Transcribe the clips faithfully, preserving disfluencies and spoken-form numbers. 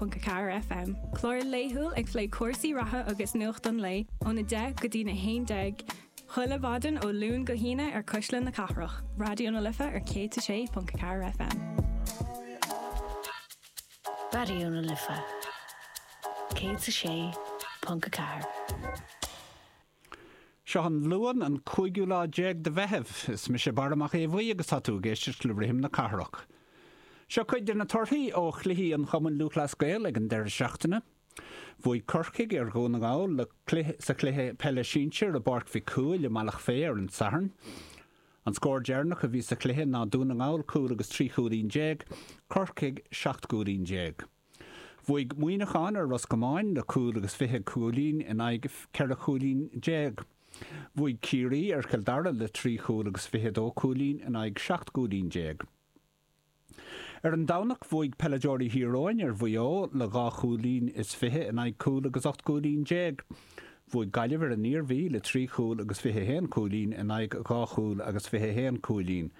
ponc a ceathair FM. Clár laethúil ag plé cúrsaí reatha agus nuacht an lae óna deich go dtí na haon déag. Chuile mhaidin ó Luan go hAoine ar Cuisle na Cathrach. Raidió na Life ar céad a sé ponc a ceathair FM. Raidió na Life céad a sé ponc a ceathair. Seo an Luan an cúigiú lá déag de Mheitheamh. Is mise Barra Mac Aodha Bhuí agus tá tú ag éisteacht le Rithim na Cathrach. Seo cuid de na torthaí ó chluichí an Chumainn Lúthchleas Gael ag an deireadh seachtaine. Bhuaigh Corcaigh ar Dhún na nGall le cluiche sa chluiche peile sinsir i bPáirc Mhic Cumhaill i mBealach Féich ar an Satharn. An scór deireanach a bhí sa chluiche ná Dún na nGall cúl agus trí chúilín déag, Corcaigh seacht gcúilín déag. Bhuaigh Muineachán ar Ros Comáin le cúl agus fiche cúilín in aghaidh ceithre chúilín déag. Bhuaigh Ciarraí ar Chill Dara le trí chúl agus fiche dó cúilín in aghaidh seacht gcúilín déag. Ar an Domhnach bhuaigh peileadóirí Thír Eoghain ar Mhaigh Eo le dhá chúilín is fiche in aghaidh cúl agus ocht gcúilín déag. Bhuaigh Gaillimh ar an Iarmhí le trí chúl agus fiche haon cúilín in aghaidh dhá chúl agus fiche haon cúilín.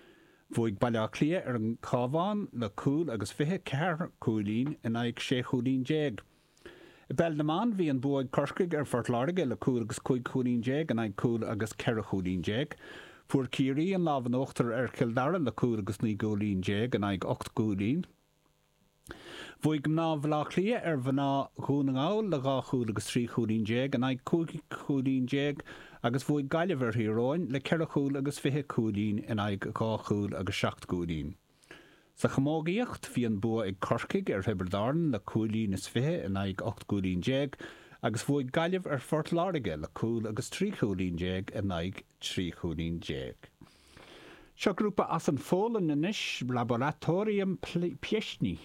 Bhuaigh Baile Átha Cliath ar an Chabhán le cúl agus fiche ceathair cúilín in aghaidh sé chúilín déag. I bpeil na mban bhí an bua ag Corcaigh ar Phort Láirge le cúl agus cúig chúilín déag in aghaidh cúl agus ceithre chúilín déag. Fuair Ciarraí an lámh in uachtar ar Chill Dara le cúl agus naoi gcúilín déag in aghaidh ocht gcúilín. Bhuaigh mná Bhaile Átha Cliath ar mhná Dhún na nGall le dhá chúl agus trí chúilín déag in aghaidh cúig chúilín déag agus bhuaigh Gaillimh ar Thír Eoghain le ceithre chúl agus fiche cúilín in aghaidh dhá chúl agus seacht gcúilín. Sa chamógaíocht, bhí an bua ag Corcaigh ar Thiobraid Árann le cúilín is fiche in aghaidh ocht gcúilín déag agus bhuaigh Gaillimh ar Phort Láirge le cúl agus trí chúilín déag in aghaidh trí chúilín déag. Seo grúpa as an Pholainn anois, Laboratorium Pieśni.